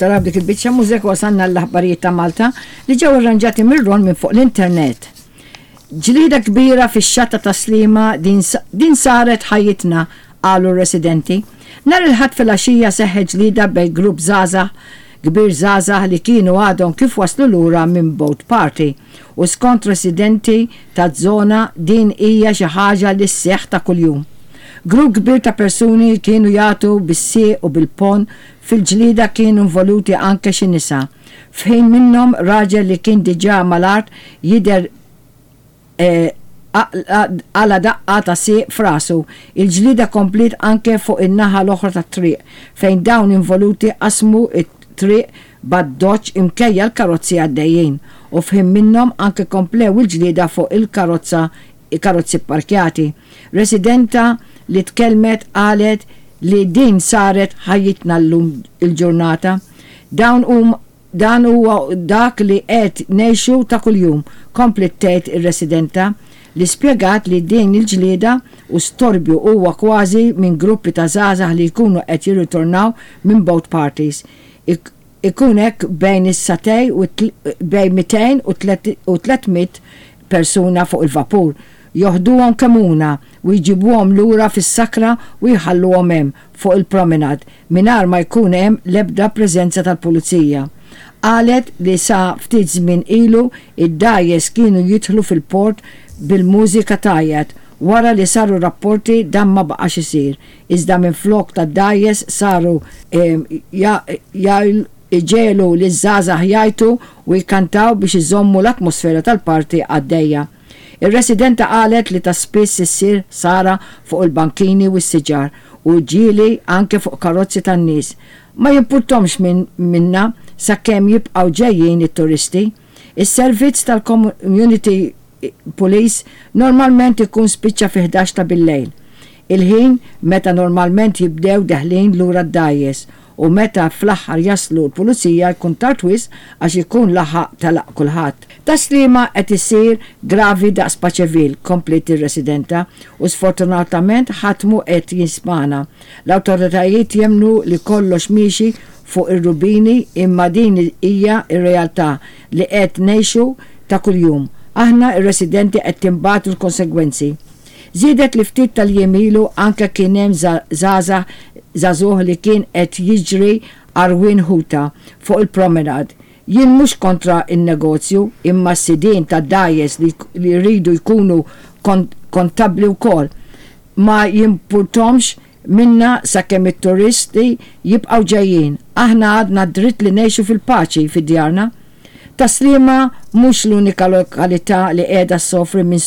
Taraw dik il-biċċa mużika wasalna l-aħbarijiet ta' Malta li ġew irranġati mir-Ron minn fuq l-internet. Ġlieda kbira fix-xatt ta' Tas-Sliema din din saret ħajjitna, qalu r-residenti. Nhar il-Ħadd filgħaxija seħħet ġlieda bejn grupp żgħażagħ kbir żgħażagħ li kienu għadhom kif waslu lura minn boat party u skont residenti taz-zona din hija xi ħaġa li sseħħ ta' kuljum. Grupp kbir ta' persuni kienu jagħtu bis-sieq u bil-ponn fil-ġlieda kienu involuti anke xi nisa. F'ħin minnhom raġel li kien diġà mal-art jidher qala' daqqa ta' sieq f'rasu. Il-ġlieda kompliet anke fuq in-naħa l-oħra tat-triq fejn dawn involuti qasmu t-triq b'addoċċ imkejja l-karozzi għaddejjin u f'ħin minnhom anke komplew il-ġlieda fuq il-karozza karozzi pparkjati. Residenta li tkellmet qalet li din saret ħajjitna llum il-ġurnata. Dawn huma Dan huwa dak li qed ngħixu ta' kuljum, kompliet tgħid ir-residenta, li spjegat li din il-ġlieda u storbju huwa kważi minn gruppi ta' żgħażagħ li jkunu qed jirritornaw minn boat parties. Ikun hekk bejn is-satej u bejn 200 u 300 persuna fuq il-vapur. Joħduhom Kemmuna u jġibuhom lura fis-sakra u jħalluhom hemm fuq il-promenade mingħajr ma jkun hemm l-ebda preżenza tal-pulizija. Qalet li sa ftit żmien ilu id-dgħajjes kienu jidħlu fil-port bil-mużika tgħajjat. Wara li saru rapporti dan ma baqax isir, iżda minflok tad-dgħajjes saru jġegħlu liż-żgħażagħ jgħajtu u jkantaw biex iżommu l-atmosfera tal-party għaddejja. Ir-residenta qalet li ta' spiss issir ħsara fuq il-bankini u s-siġar u ġieli anke fuq karozzi tan-nies. Ma jimpurthomx minn minna sakemm jibqgħu ġejjin it-turisti. Is-servizz tal-Community Police normalment ikun spiċċa fi 11 ta' billejl, il-ħin meta normalment jibdew deħlin lura d-dgħajjes u meta fl-aħħar jaslu l-pulizija jkun tard wisq għax ikun laħaq telaq kulħadd. Tas-Sliema qed isir gravi daqs Paceville, kompliet ir-residenta, u sfortunatament ħadd mhu qed jismagħna. L-awtoritajiet jemmnu li kollox miexi fuq ir-rubini imma din hija r-realtà li qed ngħixu ta' kuljum. Aħna r-residenti qed tinbatu l-konsegwenzi. Żiedet li ftit tal-jiem ilu anke kien hemm żgħażagħ żagħżugħ li kien qed jiġri għarwien ħuta fuq il-promenade. Jien mhux kontra n-negozju imma s-sidien tad-dgħajjes li jridu jkunu kontabbli wkoll. Ma jimpurthomx minna sakemm it-turisti jibqgħu ġejjin. Aħna għadna d-dritt li ngħixu fil-paċi fi djarna. Tas-Sliema mhux l-unika lokalità li qiegħda ssofri minn